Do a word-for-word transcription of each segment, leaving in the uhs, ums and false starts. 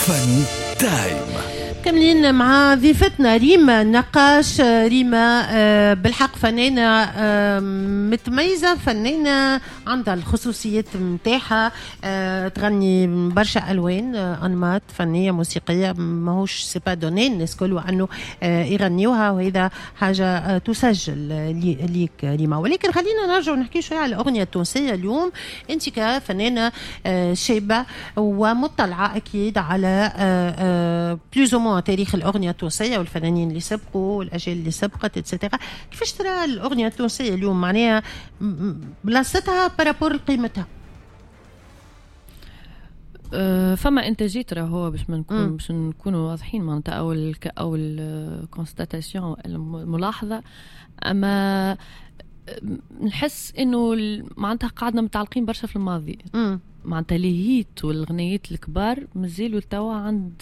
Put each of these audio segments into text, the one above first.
فاني تايم. كاملين مع ضيفتنا ريما نقاش. ريما آه، بالحق فنانة آه، متميزة، فنانة عندها الخصوصيات متاعها، آه، تغني برشا ألوان، أنماط فنية موسيقية ماهوش c'est pas donné الناس كل وأنه يغنيوها، وهذا حاجة تسجل ليك ريما. ولكن خلينا نرجع نحكي شوية على الأغنية التونسية اليوم. أنت كفنانة شابة ومطلعة أكيد على plus ou moins تاريخ الأغنية التونسية والفنانين اللي سبقوا والأجيال اللي سبقت et cetera، كيفاش ترى الأغنية التونسية اليوم، معناها بلاصتها par rapport لقيمتها؟ أه، فما انتاجات راهو باش ما نكون باش نكونوا واضحين، معناتها اول اول constatation، الملاحظه، اما نحس انه معناتها قعدنا متعلقين برشا في الماضي. معناتها les hits والغنيات الكبار مازالوا توا عند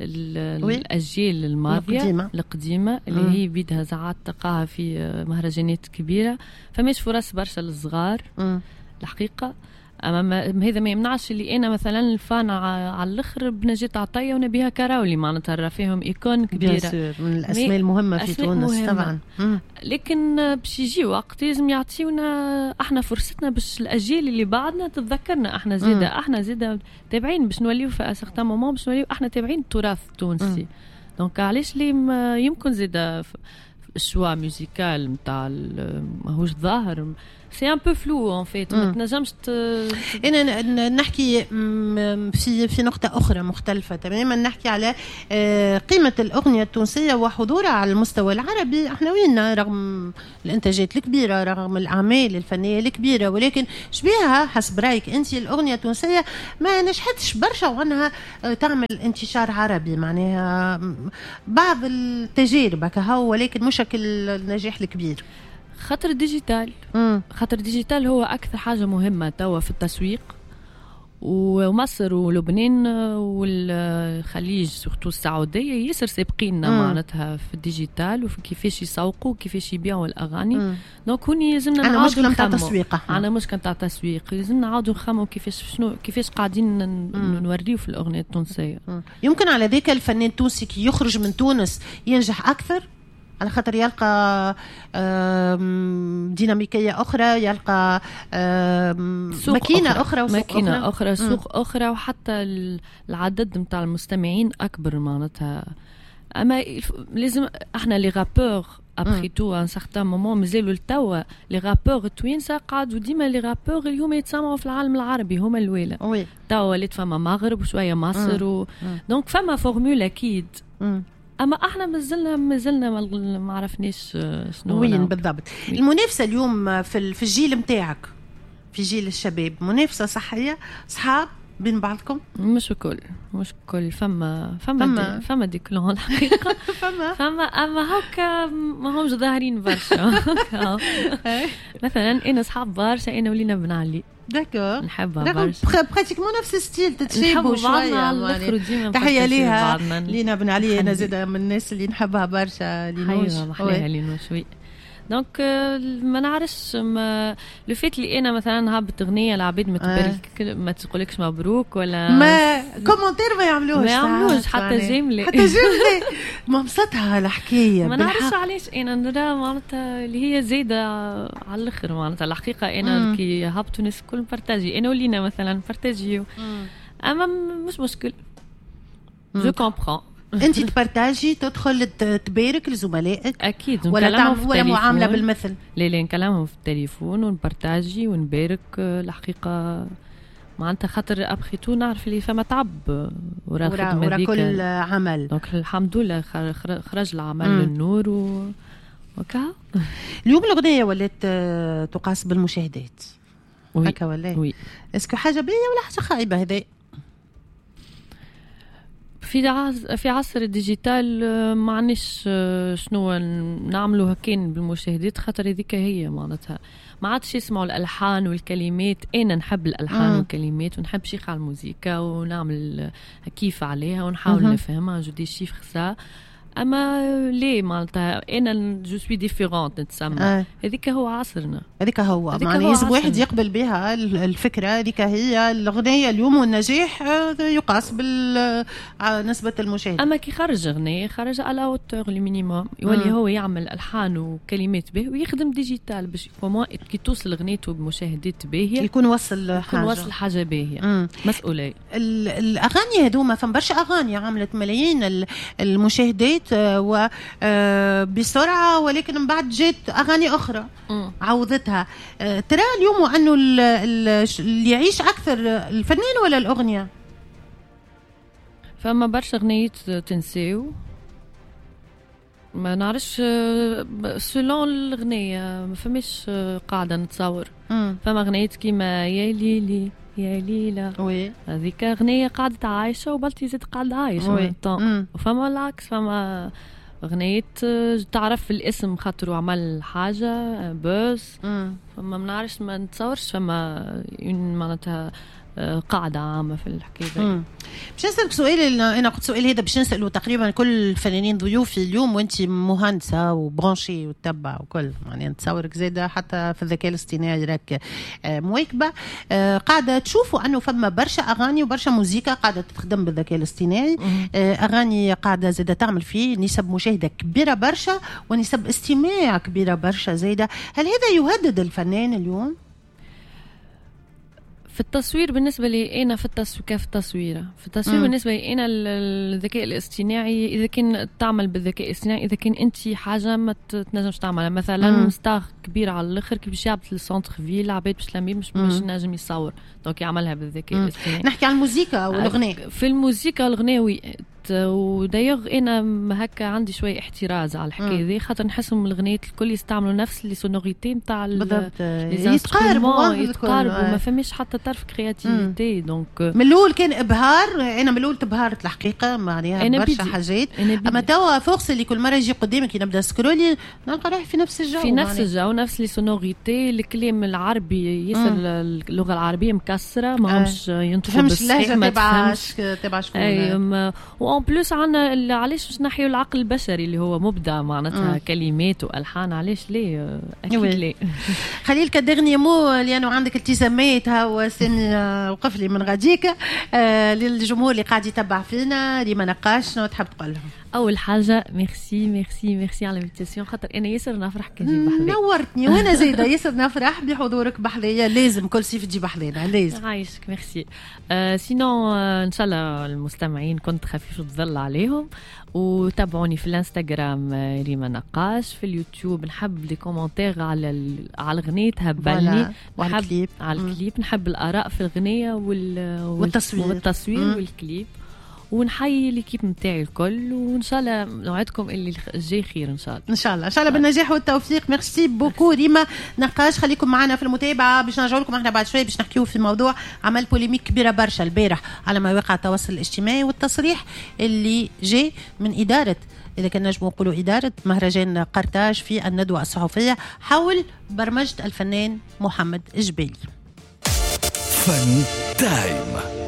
الاجيال الماضية القديمه القديمه اللي مم. هي بيدها ساعات تلقاها في مهرجانات كبيره. فماش فرص برشا للصغار الحقيقه. اما ما هذا ما يمنعش اللي انا مثلا fan على الاخر بنجاة عطية ونبيها كراولي، معناتها راه فيهم icônes كبيره. من الاسماء المهمة في تونس مهمة. طبعا. مم. لكن باش يجي وقت لازم يعطيونا احنا فرصتنا باش الاجيال اللي بعدنا تتذكرنا احنا زيدا، احنا زيدا تابعين باش نوليو في certain moment باش نوليو احنا تابعين التراث التونسي. donc علاش لي يمكن زيدا ال choix musical نتاع ماهوش ظاهر، c'est un peu flou en fait، ما تنجمش. انا نحكي في في نقطة اخرى مختلفة تماما، نحكي على آه، قيمة الاغنية التونسية وحضورها على المستوى العربي. احنا وين رغم الانتاجات الكبيره، رغم الاعمال الفنية الكبيره، ولكن شبيها حسب رايك انت الاغنية التونسية ما نجحتش برشا وانها آه، تعمل انتشار عربي؟ معناها بعض التجارب كهو، ولكن مش النجاح الكبير. خاطر ال digital مم. خاطر ال digital هو اكثر حاجة مهمة توا في التسويق، ومصر ولبنان والخليج surtout السعودية ياسر سابقيننا معناتها في ال digital وفي كيفاش يسوقوا، كيفاش يبيعوا الاغاني. donc هوني لازمنا عندنا مشكلة نتاع تسويق. عندنا مشكلة نتاع تسويق، لازمنا نعاودوا نخموا كيفاش شنو كيفاش قاعدين نوريو في الاغنية التونسيه. مم. يمكن على ذاك الفنان التونسي كي يخرج من تونس ينجح اكثر، على خاطر يلقى ديناميكية أخرى، يلقى ماكينة أخرى، أخرى وسوق ماكينة أخرى، أخرى سوق أخرى، وحتى العدد نتاع المستمعين أكبر معناتها. أما لازم احنا les rappeurs après tout un certain moment مازالوا لتوا les rappeurs التوانسة قعدوا ديما les rappeurs اللي هما يتسمعوا في العالم العربي هما الاولى. oui. توا ولات فما مغرب وشوية مصر و donc فما formule اكيد. مم. اما احنا مازلنا مازلنا ما عرفناش شنو وين بالضبط المنافسة اليوم في في الجيل نتاعك، في جيل الشباب، منافسه صحيه، صحاب بين بعضكم؟ مش الكل، مش الكل. فما فما فما des, فما des clans الحقيقه. فما فما، اما هكا ما همش ظاهرين برشا. مثلا انا صحاب برشا انا ولينا بن علي. d'accord. نحبها برشا. pratiquement نفس style، تتشابهوا شويه. تحية ليها لينا بن علي، انا زاده من الناس اللي نحبها برشا. لينوش. محلاها لينوش، oui. donc ما نعرفش le fait اللي انا مثلا هبط اغنيه، العباد ما تبارك، ما تقولكش مبروك ولا ما commentaire ما يعملوش. ما يعملوش حتى j'aime. حتى j'aime، ما مسطها الحكايه. ما نعرفش علاش. انا نرى معناتها اللي هي زايدة على الاخر. معناتها الحقيقة انا كي هبطوا الناس الكل partager، انا ولينا مثلا partager، اما مش مشكل، je comprends. انت ت partager، تدخل تبارك لزملائك؟ اكيد. ولا تعمل ولا معاملة بالمثل؟ لا لا، نكلمهم في التليفون ون partager ونبارك الحقيقه، معناتها خاطر après tout نعرف اللي فما تعب ورا الخدمة ورا كل عمل. donc الحمد لله خرج العمل للنور و وكا اليوم الاغنية ولات تقاس بالمشاهدات هكا ولا؟ oui. est-ce que حاجة باهيه ولا حاجة خايبة هذا؟ في عصر في عصر ال digital ما عندناش شنو نعملوا كان بالمشاهدات، خاطر هذيك هي معناتها ما عادش يسمعوا الالحان والكلمات. انا نحب الالحان مم. والكلمات ونحب شيخ على الموسيقى ونعمل كيف عليها ونحاول نفهمها، je déchiffre ça. اما ليه معناتها انا je suis différente نتسمى. هذيك هو عصرنا، هذيك هو معناها لازم واحد يقبل بها الفكرة، هذيك هي الاغنية اليوم، والنجاح يقاس بنسبة المشاهدة. اما كي خرج اغنية خرج à la hauteur le minimum، يولي هو يعمل الحان وكلمات به ويخدم digital باش كي توصل اغنيته بمشاهدات باهيه يكون وصل حاجة، يكون وصل حاجة باهيه. مسؤولية. الاغاني هذوما فما برشا اغاني عملت ملايين المشاهدات وبسرعة، ولكن من بعد جات اغاني اخرى مم. عوضتها. ترى اليوم انه اللي يعيش اكثر الفنان ولا الاغنية؟ فما برشا اغنيات تنساو، ما نعرفش selon الاغنية، ما فماش قاعدة نتصور. مم. فما اغنيات كيما يا ليلي يا ليلى، oui هذيك اغنية قعدت عايشه وبلتي زاد قاعدة عايشه. وفما العكس، فما اغنية تعرف الاسم خاطر عمل حاجة buzz. فما ما نعرفش، ما نتصورش فما معناتها قاعدة عامة في الحكاية. باش نسألك سؤال، أنا قلت سؤال هذا باش نسأله تقريبا كل الفنانين ضيوفي اليوم، وأنت مهندسة و branchée وتتبع وكل، يعني نتصورك زادة حتى في الذكاء الاصطناعي راك مواكبة. قاعدة تشوفوا أنه فما برشا أغاني وبرشا موزيكا قاعدة تخدم بالذكاء الاصطناعي، أغاني قاعدة زادة تعمل فيه نسب مشاهدة كبيرة برشا ونسب استماع كبيرة برشا زادة. هل هذا يهدد الفنان اليوم؟ في التصوير بالنسبة لي أنا، في التصوير كيف التصوير في التصوير مم. بالنسبة لي أنا الذكاء الاصطناعي إذا كان تعمل بالذكاء الاصطناعي، إذا كان أنت حاجة ما تنجمش تعملها، مثلا star كبير على الآخر كي باش يهبط لل centre-ville عباد باش تلمي مش باش نجم يصور، donc يعملها بالذكاء الاصطناعي. نحكي على الموسيقى والأغنية. في الموسيقى والأغنية oui، و d'ailleurs انا هكا عندي شوية احتراز على الحكاية ذي، خاطر نحسهم الغنيات الكل يستعملوا نفس les sonorités نتاع بالضبط، يتقاربوا يتقاربوا، ما فماش حتى طرف créativité. donc من الاول كان ابهار، انا من الاول تبهرت الحقيقة معناها برشا حاجات، اما توا force اللي كل مرة يجي قدامك نبدا scroller نلقى روحي في نفس الجو، في نفس الجو، نفس les sonorités، الكلام العربي ياسر، اللغة العربية مكسرة، ما همش ينطقوا بالصحيح، ما تفهمش تبع شكون. و en plus عندنا علاش باش نحيو العقل البشري اللي هو مبدع معناتها كلمات والحان، علاش ليه؟ اكيد ليه. خليل ك dernier mot لانه عندك التزامات، هو سامي وقف لي من غاديك، آه للجمهور اللي قاعد يتبع فينا، ريما نقاش شنو تحب تقول لهم؟ اول حاجة merci merci merci على l'invitation، خاطر انا ياسر نفرح كي نجي بحذاك. نورتني وانا زايدة ياسر نفرح بحضورك بحذايا، لازم كل صيف تجي بحذانا لازم. عايشك ميرسي. آه sinon آه ان شاء الله المستمعين كنت خفيف الظل عليهم، وتابعوني في الانستغرام ريما نقاش، في اليوتيوب نحب les commentaires على على الغنية تهبلني، وعلى الكليب، على الكليب نحب الاراء في الغنية وال... والتصوير والتصوير مم. والكليب، ونحيي l'équipe نتاعي الكل، وان شاء الله نوعدكم اللي الجاي خير ان شاء الله. ان شاء الله ان شاء الله بالنجاح والتوفيق. merci beaucoup ريما نقاش، خليكم معنا في المتابعة باش نرجعوا لكم احنا بعد شوية باش نحكيو في موضوع عمل polémique كبيرة برشا البارح على مواقع التواصل الاجتماعي، والتصريح اللي جاء من ادارة، اذا كان نجموا نقولوا ادارة مهرجان قرطاج في الندوة الصحفية حول برمجة الفنان محمد الجبالي. فن تايم.